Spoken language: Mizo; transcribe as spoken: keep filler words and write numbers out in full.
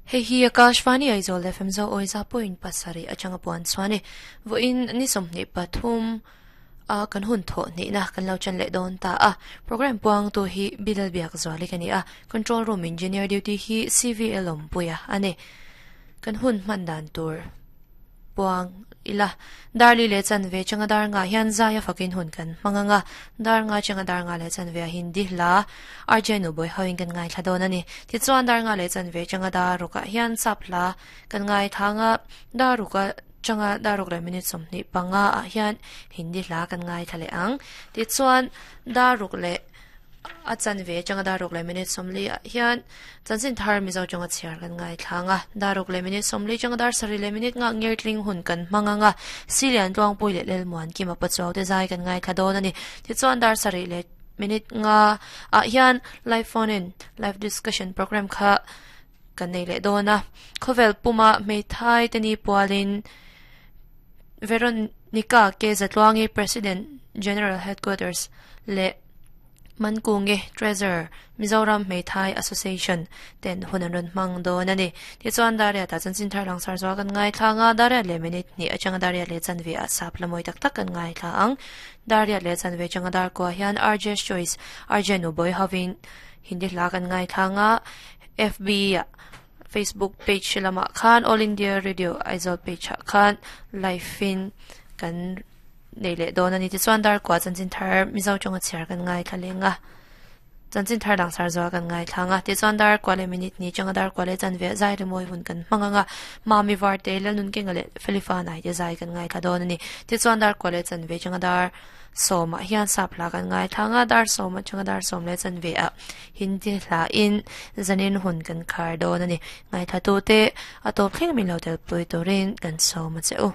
Hei hi Akashvani Aizawl F M zo oiza point pasari atanga puan chuani voin ni somni pathum a kan hun tho ni na kan lo chan le don ta a program puang tu hi bilal biak zawali kani a control room engineer duty hi C V L om puya ane kan hun man dan tur puang ila darli le chan ve changa dar nga hian zaya fakin hun kan manganga dar nga changa dar nga le chan ve hindi la arjenu boy hoing kan ngai thadon ani ti chuan dar nga le chan ve changa dar ruka hian sapla kan ngai thanga dar ruka changa daruk le minute somni panga a hian hindi la kan ngai thale ang ti chuan daruk le a chan ve changa daruk le minute somli a hian chanchin thar mizo changa chiar kan ngai thanga daruk le minute somli changa dar sari le minute nga ngir tling hun kan manganga silian tuang pui le lel muan ki ma pachaw te zai kan ngai thadon ani ti chuan dar sari le minute nga a hian live phone in live discussion program kha kan nei le dona khovel puma meithai teni pualin Veronica K. Zatluangi President General Headquarters le Mankunge Treasurer Mizoram Meithai Association ten hunan mang do nani ti chuan daria ta chanchin thar lang sar zo kan ngai thanga daria le minute ni achanga daria le chanve a sap lamoi tak tak kan ngai tha ang daria le chanve changa dar ko hian R J Choice R J nu boy having hindi la kan ngai thanga F B Facebook page lama khan All India Radio Aizawl page khan live in kan nei le don ani ti chuan dar kwa chanchin thar mizo chonga chiar kan ngai thalenga chanchin thar lang sar zo kan ngai thanga ti chuan dar kwa le minute ni changa dar kwa le chan ve zai le moi hun kan manganga mami var te la nun ke ngale felifa nai te zai kan ngai tha don ani ti chuan dar kwa le chan ve changa dar soma hian sapla kan ngai thanga dar soma changa dar som le chan ve a hindi hla in zanin hun kan khar don ani ngai tha tu te atop thleng min lo tel pui turin kan soma cheu.